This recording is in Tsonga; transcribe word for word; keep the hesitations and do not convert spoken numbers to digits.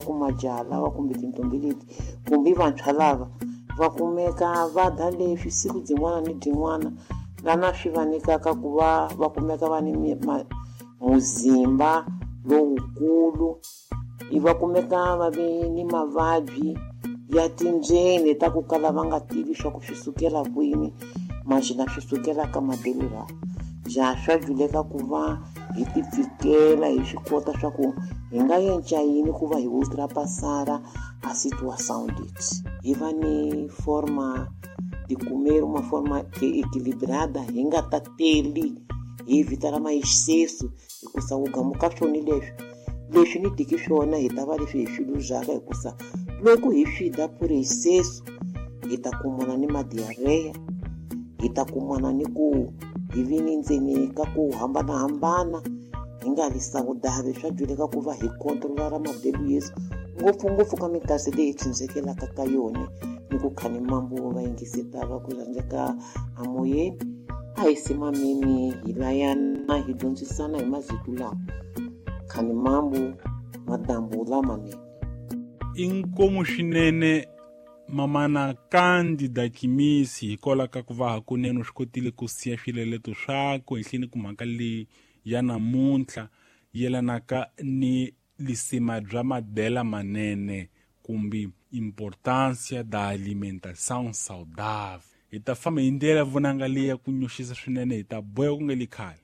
ku majaha lawa kumbe tintombi leti kumbe vantshwa lava va kumeka va dya leswi siku byin'wana ni byin'wana lana swi va nyikaka ku va va kumeka va ni muzimba lowukulu i va kumeka va ve ni mavabyi ya tindzeni ta ku kala va nga tivi swa ku swi sukela kwini maxina swi sukela ka madelo lawa ja swa juleka ku va hi tipfikela hi swi kota swa ku hi nga yenca yini ku va hi ultrapassara a situação leti hi va ni forma de comer uma forma equilibrada hi nga tateli hi vita ra excesso hikusa ku gamuka swona leswi leswi ni diki swona hi ta va leswi hi swi luzaka hikusa loko hi swi dya por excesso hi ta kumana ni madiarreia hi ta kumana ni ku hi vi ni ndzeni ka ku hambanahambana hi nga ri saudável swa juleka ku va hi controla ra madelo yesu ngopfungopfu ka minkarhi leyi hi tshunxekelaka ka yona ni ku khani mambo va yingiseta va ku rhandzeka amoyeni a hi simameni hi layana hi dyondzisana hi masiku lawa khani mambo madambu lamanene inkomu swinene mamana Cândida Kimisi hikwalaho ka ku va hakunene u swi kotile ku siya swileleto swakwe ehenhleni ku mhaka leyi ya namuntlha yelanaka ni lisima bya madela manene kumbe importância da alimentação saudável. Hi ta famba hi ndlela vonanga leyi ya ku nyoxisa swinene hi ta boya ku nga li khale.